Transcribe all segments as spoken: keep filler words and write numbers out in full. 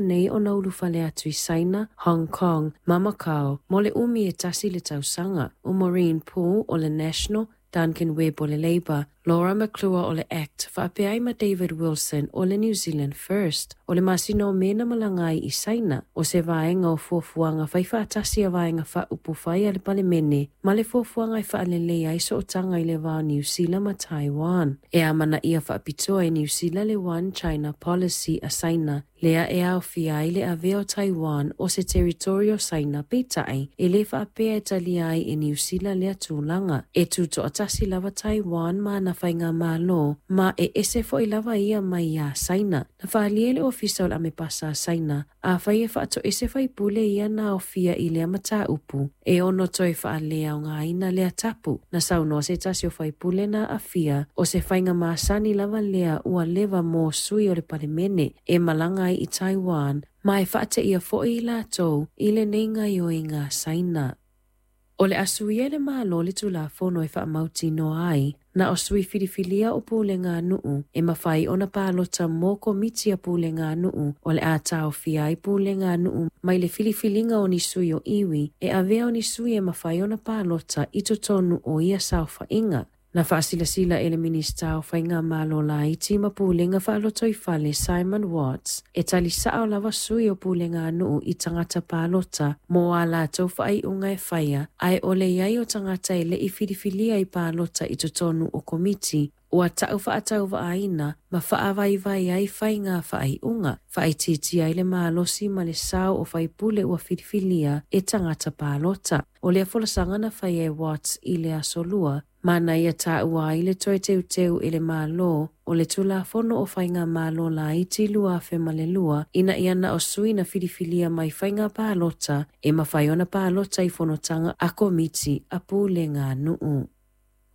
nei ona ulufale atu i Saina, Hong Kong ma Macau mo le umi e tasi le tausaga. O Maureen Poole o le National, Duncan Webb o le Labour, Laura McClure o le ACT, faapea ai ma David Wilson o le New Zealand First. O le masina o Me na malaga ai i Saina, o se vaega o fuafuaga faifaatasi a Vaega Faaupufai a le Palemene ma le fuafuaga e faaleleia ai sootaga i le va o Niu Sila ma Taiwan. E amanaia faapitoa e Niu Sila le One China Policy a Saina, lea e aofia ai le avea o Taiwan o se teritory o Saina, peitai e lē faapea e talia ai e Niu Sila lea tulaga. E tutoatasi lava Taiwan ma ana faigamalo, ma e ese foʻi lava ia mai iā Saina. Na faaalia e le Ofisa o le Amepasa a Saina, afai e faatoese faipule ia na aofia i lea mataupu, e ono toe faaleaogaina lea tapu. Na saunoa se tasi o faipule na aafia, o se faiga masani lava lea ua leva mo sui o le Palemene e malaga ai i Taiwan, ma e faateia foʻi i latou i lenei gaoioiga a Saina. O le a suia e le Malo le Tulafono e faamautinoa ai na o sui filifilia o pulega a nuu e mafai ona palota mo komiti a pulega a nuu. O le a taofia ai pulega a nuu mai le filifiliga o ni sui o iwi e avea o ni sui e mafai ona palota i totonu o ia saofaiga. Na faasilasila e le Minisita o Faigamalo Laiti ma Pulega Faalotoifale Simon Watts, e talisaʻo lava sui o pulega a nuu i tagata palota mo a latou faaiuga e faia, ae o le i ai o tagata e leʻi filifilia i palota i totonu o komiti ua taʻu faatauvaaina ma faavaivai ai faiga faaiuga, faaitiitia ai le malosi ma le sao o faipule ua filifilia e tagata palota. O lea folasaga na faia e Watts i le aso Lua, ma na ia taua ai le toe teuteu e le Malo o le Tulafono o Faigamalo Laiti lua afe ma le lua, ina ia na o sui na filifilia mai faiga palota e mafai ona palota i fonotaga a komiti a pulega a nuu.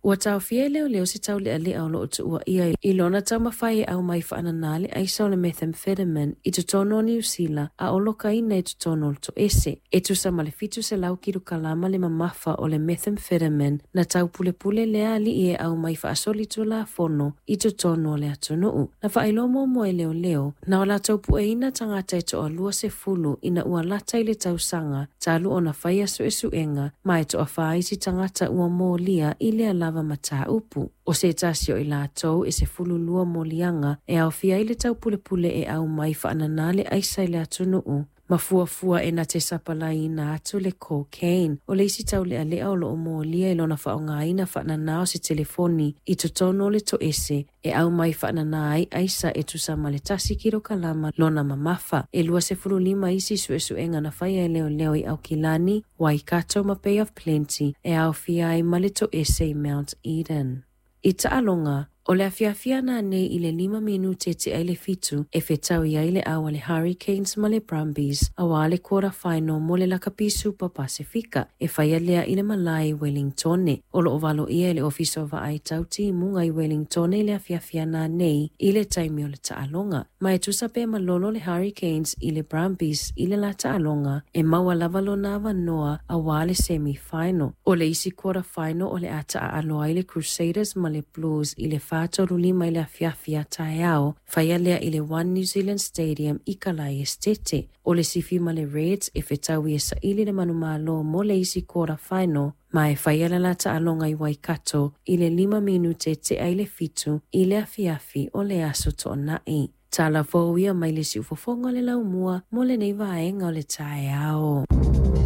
Ua taofia e leoleo se taulealea o loo tuuaia i lona taumafai e aumai faananā le aisa o le methamphetamine i totonu o Niu Sila a o lokaina i totonu o le toese. E tusa ma le fitu selau kilokalama le mamafa o le methamphetamine na taupulepule lea alii e aumai faasolitulafono i totonu o le atunuu. Na faailoa muamua e leoleo na o latou pueina tagata e toalua sefulu ina ua lata i le tausaga talu ona faia suesuega, ma e toafā isi tagata ua molia i lea lava mataupu. O se tasi o i latou e sefulu lua moliaga e aofia ai le taupulepule e aumai faananā le aisa i le atunuu ma fuafua e na te sapalaiina atu le cocaine. O le isi taulealea o loo molia i lona faaaogaina faananā o se telefoni i totonu o le toese e aumai faananā ai aisa e tusa ma le tasi kilokalama lona mamafa. E lua sefulu lima isi suesuega na faia e leoleo i Aukilani, Waikato ma Bay of Plenty, e aofia ai ma le toese i Mount Eden. I taaloga, o le afiafi ananei i le lima minute tea i le fitu e fetaui ai le au a le Hurricanes ma le Brumbies auā le quarter final mo le Lakapi Super Pasifika e faia lea i le malae i Wellingtone. O loo valoia e le Ofisa o Vaai Tau Timuga i Wellingtone i le afiafi ananei i le taimi o le taaloga. Ma e tusa pe malolo le Hurricanes i le Brumbies i le la taaloga e maua lava lona avanoa auā le semi final. O le isi quarter final o le a taaalo ai le Crusaders ma le Blues i le whātoru lima i le afiafi a taeao, faia lea i le One New Zealand Stadium i Kalai Estete. O le Sifi ma le Reds e fetaui e saili le manumalo mo le isi quarter final, ma e faia le la taaloga i Waikato i le lima minute tea i le fitu i le afiafi o le aso Toonai. Tala fou ia mai le siufofoga o le laumua mo lenei vaega o le taeao.